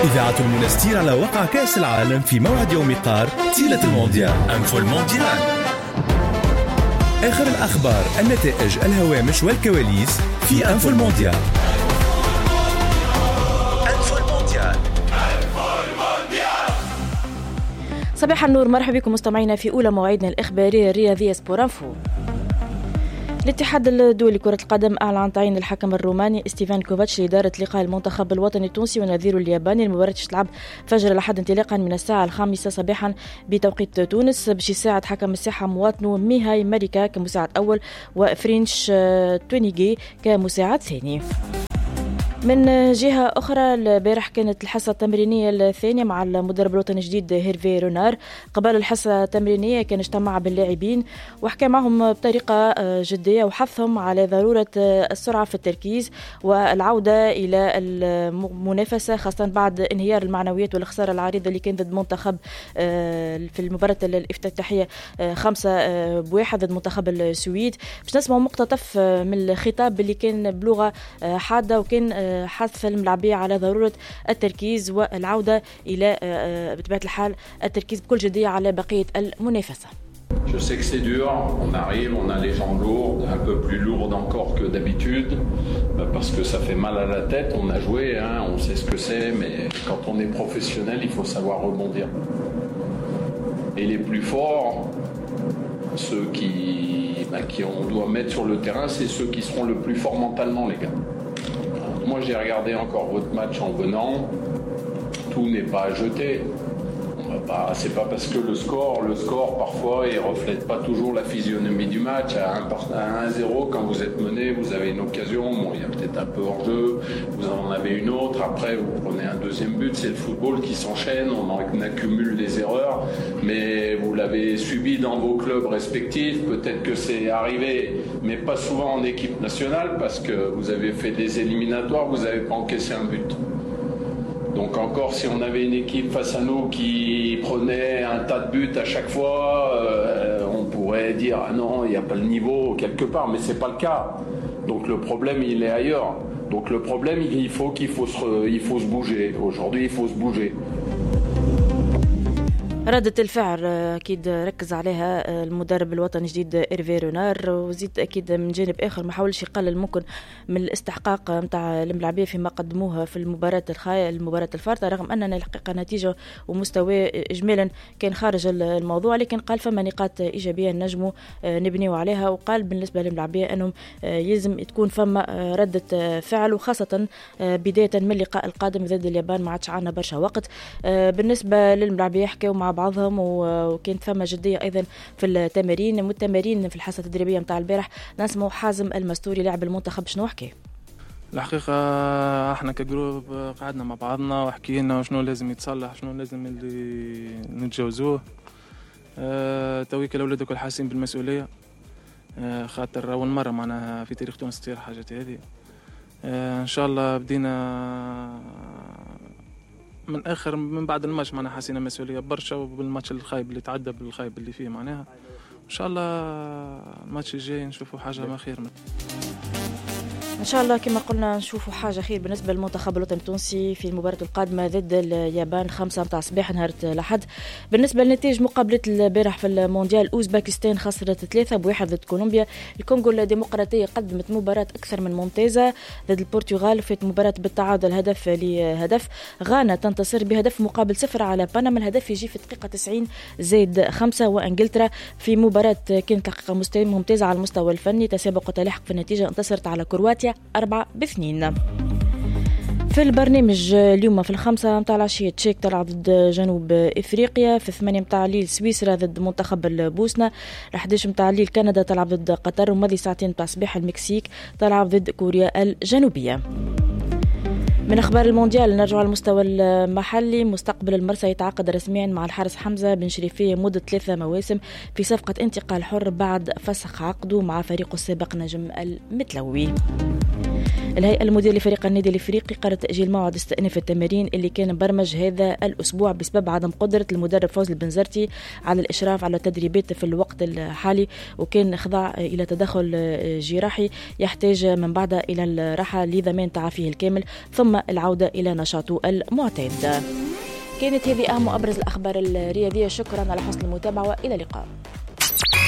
إذاعة المنستير على وقع كأس العالم في موعد يوم قار طيلة المونديال. Info المونديال، آخر الأخبار، النتائج، الهوامش والكواليس في Info المونديال. Info المونديال. صباح النور، مرحبا بكم مستمعينا في أولى مواعيدنا الإخبارية الرياضية Sport Info. الاتحاد الدولي لكرة القدم أعلن عن تعيين الحكم الروماني ستيفان كوفاتش لإدارة لقاء المنتخب الوطني التونسي ونظيره الياباني. المباراة تلعب فجر الأحد انطلاقا من الساعة 5 صباحا بتوقيت تونس. باش يساعد حكم الساحة مواطنه ميهاي ماريكا كمساعد أول وفرينش تونيجي كمساعد ثاني. من جهة أخرى، البارح كانت الحصة التمرينية الثانية مع المدرب الوطني الجديد هيرفي رونار. قبل الحصة التمرينية كان اجتمع باللاعبين وحكى معهم بطريقة جدية وحثهم على ضرورة السرعة في التركيز والعودة إلى المنافسة، خاصة بعد انهيار المعنويات والخسارة العريضة اللي كانت ضد منتخب في المباراة الافتتاحية 5-1 ضد منتخب السويد. باش نسمع مقتطف من الخطاب اللي كان بلغة حادة وكان حث الملاعبية على ضرورة التركيز والعودة إلى بطبيعة الحال التركيز بكل جدية على بقية المنافسة. Je sais que c'est dur, on arrive, on a les jambes lourdes, un peu plus lourdes encore que d'habitude, parce que ça fait mal à la tête, on a joué, hein, on sait ce que c'est, mais quand on est professionnel, il faut savoir rebondir. Et les plus forts, ceux qui on doit mettre sur le terrain, c'est ceux qui seront le plus forts mentalement, les gars. Moi, j'ai regardé encore votre match en venant. Tout n'est pas à jeter. C'est pas parce que le score parfois, il reflète pas toujours la physionomie du match. À 1-0, quand vous êtes mené, vous avez une occasion. Bon, il y a peut-être un peu hors-jeu. Vous en avez une autre. Après, vous prenez un deuxième but. C'est le football qui s'enchaîne. On en accumule des erreurs. Mais vous l'avez subi dans vos clubs respectifs. Peut-être que c'est arrivé, mais pas souvent en équipe nationale parce que vous avez fait des éliminatoires, vous n'avez pas encaissé un but. Donc encore, si on avait une équipe face à nous qui prenait un tas de buts à chaque fois, on pourrait dire ah non, il n'y a pas le niveau quelque part, mais c'est pas le cas. Donc le problème, il est ailleurs. Donc le problème, il faut se bouger. Aujourd'hui, il faut se bouger. ردة الفعل أكيد ركز عليها المدرب الوطني الجديد إيرفي رونار، وزيد أكيد من جانب آخر ما حاولش يقلل ممكن من الاستحقاق متاع الملاعبية فيما قدموها في المباراة المباراة الفارطة، رغم أننا الحقيقة نتيجة ومستوى إجمالا كان خارج الموضوع، لكن قال فما نقاط إيجابية نجموا نبنيو عليها. وقال بالنسبة للملاعبية أنهم يلزم تكون فما ردة فعل، وخاصة بداية من اللقاء القادم ضد اليابان، ما عادش عنا برشا وقت. بالنسبة للملاعبية حكاو مع بعضهم وكانت فما جدية أيضا في التمارين والتمارين في الحصة التدريبية متاع البارح. نسمع حازم المستوري لاعب المنتخب شنو حكي. الحقيقة احنا ك groupe قعدنا مع بعضنا وحكينا شنو لازم يتصلح، شنو لازم اللي نتجاوزوه. تويك الأولاد الكل حاسين بالمسؤولية، خاطر أول مرة معناها في تاريخ تونس تصير حاجات هذه. إن شاء الله بدينا من اخر من بعد الماتش معناها حسينا مسؤولية برشا، وبالماتش الخايب اللي تعدى بالخايب اللي فيه معناها ان شاء الله الماتش الجاي نشوفوا حاجة ما خير. ان شاء الله كما قلنا نشوفوا حاجة خير بالنسبة للمنتخب الوطني التونسي في المباراة القادمة ضد اليابان 5 متاع الصباح نهار الاحد. بالنسبة لنتائج مقابله البارح في المونديال، اوزباكستان خسرت 3-1 ضد كولومبيا. الكونغو الديمقراطية قدمت مباراة اكثر من ممتازة ضد البرتغال، في مباراة بالتعادل 1-1. غانا تنتصر ب0-0 على بنما، الهدف يجي في الدقيقة 90 زائد 5. وانجلترا في مباراة كانت حقيقة ممتازة على المستوى الفني، تسابق وتلاحق في النتيجة، انتصرت على كرواتيا 4-2. في البرنامج اليوم في 5 متاع العشية تشيك تلعب ضد جنوب افريقيا، في 8 متاع الليل سويسرا ضد منتخب البوسنة، 11 متاع الليل كندا تلعب ضد قطر، وماضي ساعتين متاع الصباح المكسيك تلعب ضد كوريا الجنوبية. من أخبار المونديال نرجع على المستوى المحلي. مستقبل المرسى يتعاقد رسميا مع الحارس حمزة بن شريفية مدة 3 مواسم في صفقة انتقال حر بعد فسخ عقده مع فريقه السابق نجم المتلوي. الهيئة المديرة لفريق النادي الافريقي قررت تأجيل موعد استئناف التمارين اللي كان مبرمج هذا الأسبوع بسبب عدم قدرة المدرب فوزي البنزرتي على الإشراف على التدريبات في الوقت الحالي، وكان خضع إلى تدخل جراحي يحتاج من بعدها إلى الراحة لضمان تعافيه الكامل ثم العودة إلى نشاطه المعتاد. كانت هذه أهم وأبرز الأخبار الرياضية. شكرا على حسن المتابعة وإلى اللقاء.